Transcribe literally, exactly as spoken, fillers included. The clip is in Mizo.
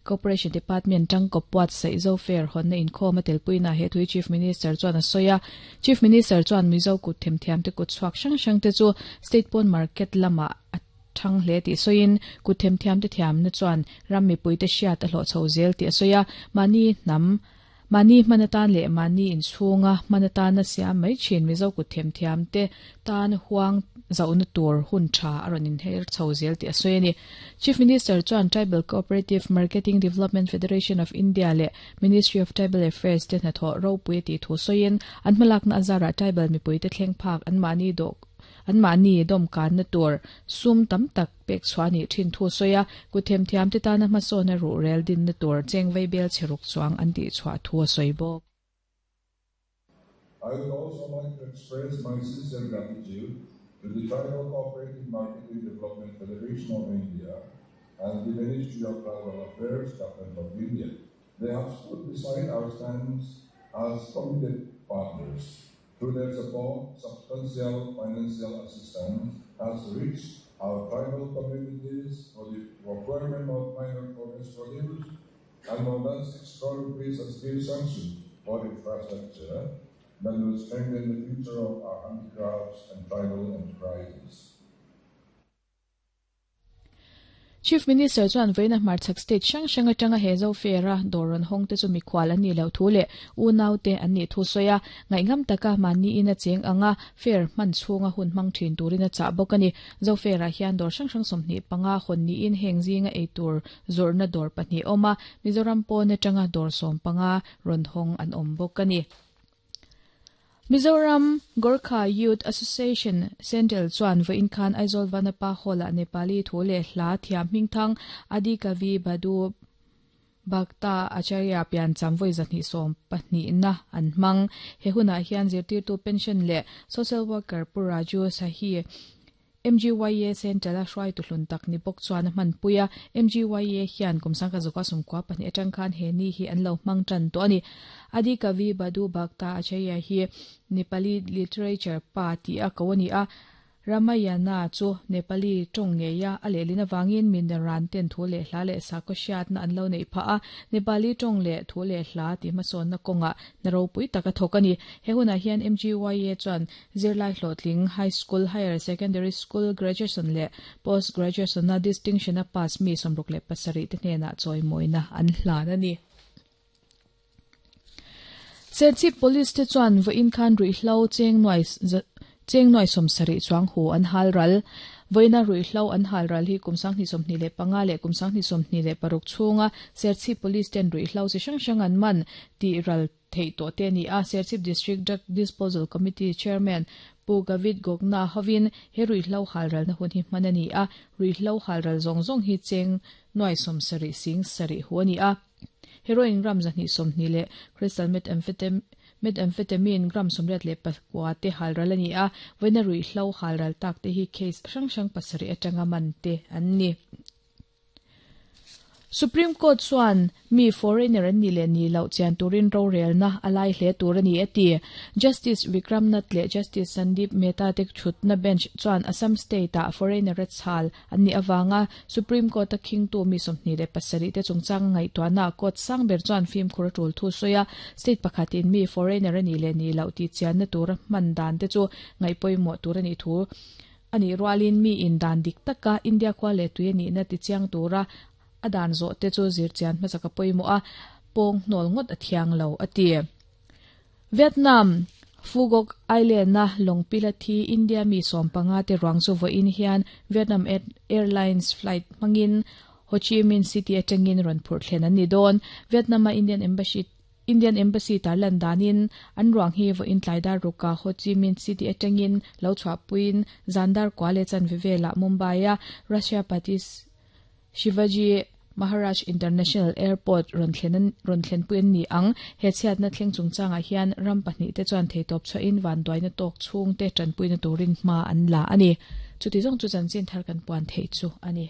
Cooperation Department tangkawp buatsaih Zo Fair hawnna inkhawm a telpuina he thui Chief Minister chuan a sawi a. Chief Minister chuan Mizo kut themthiam te kut chhuak hrang hrang te chu state pawn market lamah a thang hle tih sawiin kut themthiam te thiamna chuan ram mipui te hriat a hlawh chho zel tih a sawi a. Mahni hnam Mahni hmanatan leh mahni inchhunga hmanatana siam mai thin Mizo kut themthiam te tan huang zauna tur hun tha a rawn inher chho zel tih a sawi a ni. Chief Minister chuan Tribal Cooperative Marketing Development Federation of India leh Ministry of Tribal Affairs te hnathawh ropui a tih thu sawiin an hmalakna azarah tribal mipui te thleng phak an mahni dawh an mahni dawmkanna tur sum tam tak pek chhuah a nih thin thu sawi a. Kut themthiam te tana hmasawna ruh rel dinna tur chengvei bel chheruk chuang an tih chhuah thu a sawi bawk. I would also like to express my sincere gratitude to the Tribal Cooperative Marketing Development Federation of India and the Ministry of Tribal Affairs, Government of India. They have stood beside our stance as committed partners. Through their support, substantial financial assistance has reached our tribal communities for the procurement of minor forest produce, and more than six crore rupees has been sanctioned for infrastructure that will strengthen the future of our handicrafts and tribal enterprises. Chief Minister chuan vawiina hmarchhak state hrang hrang atanga he Zo Fair a dawr rawn hawng te chu mikhual an nih loh thu leh unau te an nih thu sawi a. Ngaihngam taka mahni in a cheng anga fair hman chhunga hun hmang thin turin a chah bawk a ni. Zo Fair ah hian dawr hrang hrang sawmhnih panga hawn niin heng zinga ei tur zawrhna dawr pahnih a awm a. Mizoram pawn atanga dawr sawm panga rawn hawng an awm bawk a ni. Mizoram Gorkha Youth Association Central chuan vawiin khan Aizawl Vanapa Hall-ah Nepali thu leh hla thiam hmingthang Adi Kavi Bhadu Bhakta Acharya piancham vawi zahnih sawm pahnihna an hmang. He hunah hian zirtirtu pension leh social worker Pu Raju Sahi M G Y A Central a hruai tuhlun tak ni bawk chuan a hmanpui a. M G Y A hian kum sangkhat zawka sawmkua pahnih atang khan he ni hi an lo hmang tan tawh a ni. Adi Kavi Bhadu Bhakta Acharya hi Nepali literature pa tih a ko a ni a. Ramayana chu Nepali tawng ngeia a lehlin avangin minaran ten thu leh hla leh sakhaw hriatna an lo neih phah a. Nepali tawng leh thu leh hla tih hmasawnna kawngah na ropui tak a thawk a ni. He hunah hian M G Y A chuan zirlai hlawhtling high school, higher secondary school, graduation leh post graduation a distinction a pass mi sawmruk leh pasarih te hnenah chawimawina an hlan a ni. Serchhip Police te chuan vawiin khan ruihhlo cheng nuai cheng nuai sawmsarih chuang hu an hal ral. Vawiina ruihhlo an hal ral hi kum sanghnih sawmhnih leh panga leh kum sanghnih sawmhnih leh paruk chhunga Serchhip Police ten ruihhlo chi hrang hrang an man tih ral theih tawh te a ni a. Serchhip District Drug Disposal Committee Chairman Pu Gavit Gogna hovin he ruihhlo hal ralna hun hi hman a ni a. Ruihhlo hal ral zawng zawng hi cheng nuai sawmsarih sing sarih hu a ni a. Heroin gram zahnih sawmhnih leh crystal methamphetamine methamphetamine gram sawmriat leh pakua te hal ral a ni a. Vawiina ruihhlo hal ral tak te hi case hrang hrang pasarih atanga man te an ni. Supreme Court chuan mi foreigner an ni leh ni loh chian turin rorelna a lai hle tur a ni a ti. Justice Vikram Nath leh Justice Sandeep Mehta te thutna bench chuan Assam State ah foreigner a chhal an nih avanga Supreme Court a khingtu mi sawmhnih leh pasarih te chungchang ngaihtuahna court sang ber chuan fimkhur a tul thu sawi a. State pakhatin mi foreigner a ni leh ni loh tih chianna tur a hman dan te chu ngaihpawimawh tur a nih thu a nih rualin mi in dan dik taka India khua leh tui a nihna ti chiang tura a dan zawh te chu zir chian hmasaka pawimawh a pawng hnawl ngawt a thiang lo a ti. Vietnam Phu Quoc Island a lawngpila thi India mi sawm panga te ruang chu vawiin hian Vietnam Airlines flight hmangin Ho Chi Minh City atangin rawn phurh thlen an ni dawn. Vietnam a Indian Embassy Indian Embassy tarlan danin an ruang hi vawiin tlaidar ruka Ho Chi Minh City atangin lo chhuahpuiin Zandar kwa leh chanve velah Mumbai a Russia Patis Shivaji Maharaj International Airport rawn thlen rawn thlenpui an ni ang. He chhiatna thleng chungchangah hian ram pahnih te chuan theitawp chhuahin van duaina tawk chhung te tanpuina turin hma an la a ni. Chuti zawng chu chanchin thar kan puan theih chu a ni.